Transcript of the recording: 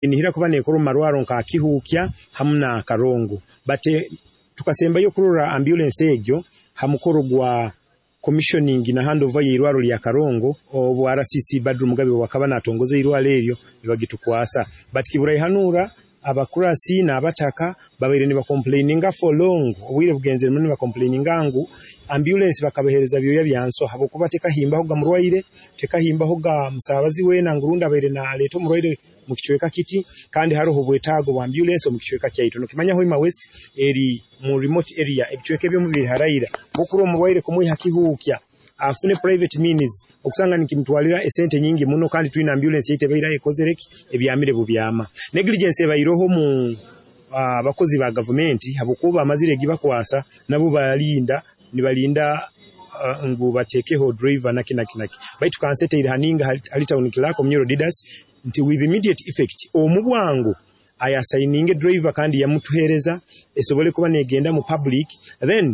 Nihira kuba neekora omu marwarro nka Kihuukya hamu na Karongo, but tukasembayo kurora ambulance egyo ha mukoro gwa commissioning na handover y'irwarro lya Karongo, obu RCC Badru Mugabe wakaba natongoza irwarro eryo, nibagitukwasa. But kiburaihanura abakurasi n'abataka babaire nibacomplaininga for long, obwire bugenzere muno nibacomplaininga ngu ambulance bakabahereza byoya bya nswa, habwokuba tekahimbahoga murwaire, tekahimbahoga musaabazi weena ngu rundi abaire naleeta omurwaire mu kicweka kiti, kandi haroho obwetaago bwa ambulance omu kicweka kyaitu. Nokimanya Hoima West eri mu remote area, ebicweka ebimu biri haraira, bwokurora omurwaire kumwiha Kihuukya afune private means, okusanga nikimutwalira esente nyingi muno, kandi twine ambulance yaitu ebaire ekozere ki, ebyamire bubyama. Negligence ebaireho mu abakozi ba gavumenti, habwokuba bamazire egibakwasa nabo balinda nibalinda ngu batekeho driver naki naki naki. Baitu kanseteire haninga hali town clerk Omunyoro Didas nti with immediate effect, omu bwangu ayasigninge driver kandi yamutuhereza esobole kuba negenda mu public then.